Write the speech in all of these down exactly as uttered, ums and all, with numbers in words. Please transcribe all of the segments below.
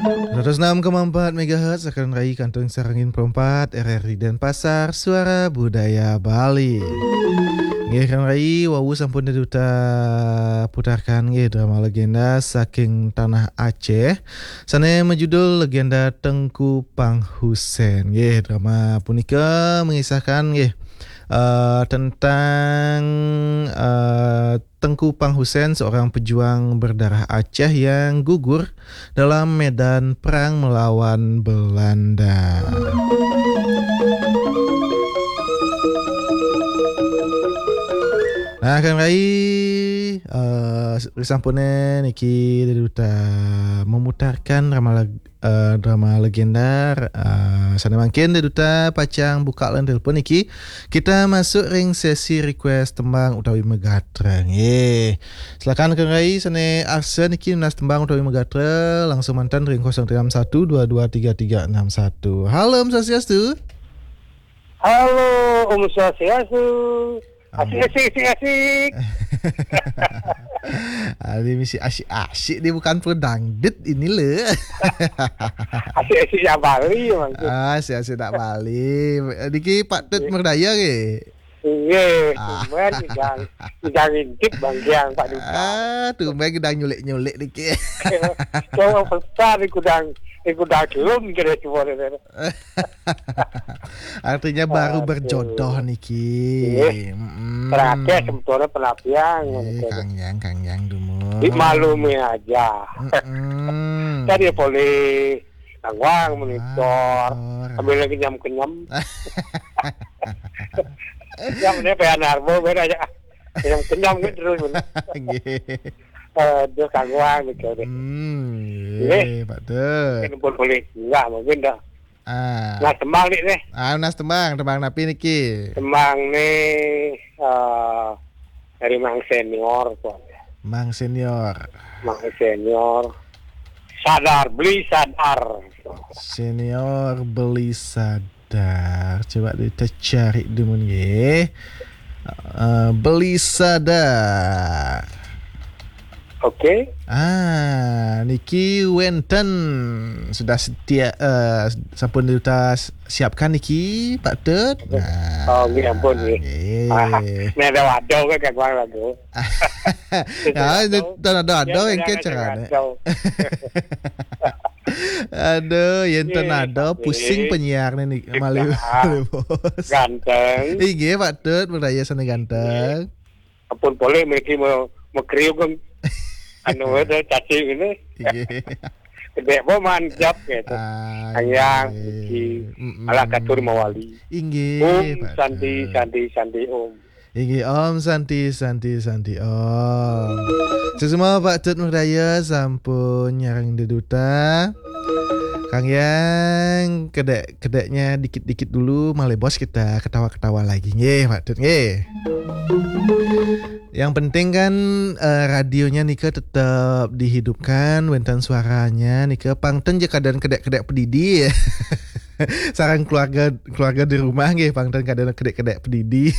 Seratus enam koma empat megahertz, Rekan Rai, kantun sareng Pro empat, R R I Denpasar, Suara Budaya Bali. Nggih, Rekan Rai, wau sampun diputarkan nggih drama legenda saking tanah Aceh, sane majudul Legenda Tengku Panghusen. Nggih, drama punika mengisahkan nggih, eh, tentang, eh, Tengku Panghusen, seorang pejuang berdarah Aceh yang gugur dalam medan perang melawan Belanda. Nah, Rekan Rai, eh, sampune niki diduta memutarkan drama leg-, eh, drama legenda, eh, sane mangkin diduta pacang buka line telepon niki. Kita masuk ring sesi request tembang utawi megatra. Nggih. Silakan Rekan Rai sane arsa niki nunas tembang utawi megatra langsung mantan ring kosong tiga enam satu dua dua tiga tiga enam satu. Halo, Om Swastiastu. Halo, Om Swastiastu. Asik, asik, asik, asik. Ini mesti asik-asik, dia bukan pedangdut ini le. Asik-asik yang Bali maksud. Ah, asik-asik nak Bali. Niki Pak Tut Merdaya ke? Nggih, ah, tumben idang, idang intip Bang Giang, Pak Duta. Ah, tumben idang nyulik-nyulik niki. Cowok besar ikudang, ikudang kelum kira semua. Artinya baru berjodoh niki. Nggih. Mm-mm. Terakhir sebetulnya penapian, eh, ngono. Kang Yang, Kang Yang dumun. Dimaklumi aja. Mm-mm. Tadi boleh tangwang monitor. Ambil lagi nyam kenyam. Yang ini Pak Narbo beda aja. Kenyam-kenyam kan terus. Nggih. Aduh, kangguan gitu deh. Hmm, nggih, Pak Tut. Mungkin pun boleh. Enggak, mungkin dah. Ah. Nah, tembang nih, nih. Ah, nunas tembang, tembang napi niki? Tembang nih, eh, dari Mang Senior, tuh. Mang Senior. Mang Senior. Sadar, beli sadar. Senior beli sadar. Coba kita cari dulu nggih. Eh, beli sadar. Oke. Ah, niki wenten sudah setia, eh, sampun kita siapkan niki, Pak Tut. Nah, oh, nggih, ampun, nggih. Nggih. Ah, ini ada waduh kan, Kang Wang, lagu. Ya, ini tan ada-ada engke carane. Aduh, yen tan ada pusing penyiar nih, malih, malih, Bos. Ganteng. Inggih, Pak Tut, Merdaya sane ganteng. Ampun, boleh mriki mau, mau kriuk kan. Anu, ada caci ini. Inggih. Gede apa manjap gitu. Ah, Ayang, inggih. Iki. Mm-mm. Ala katur mawali. Inggih, Om Pak Santi, Tut. Santi, Santi, Om. Inggih, Om Santi, Santi, Santi, Om. Sesama Pak Tut Merdaya sampun nyarang deduta. Kang Yang, kedek-kedeknya dikit-dikit dulu, malih bos kita ketawa-ketawa lagi. Nggih, Pak Tut, nggih. Yang penting kan, eh, radionya nika tetap dihidupkan, wenten suaranya nika pang ten ja kadang kedek-kedek pedidi. Sareng keluarga, keluarga di rumah nggih, pang ten kadang kedek-kedek pedidi.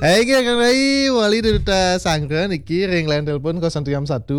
Hai, nggih, Kang Rai, wali duta sanggra niki ring line telepon kosong tiga satu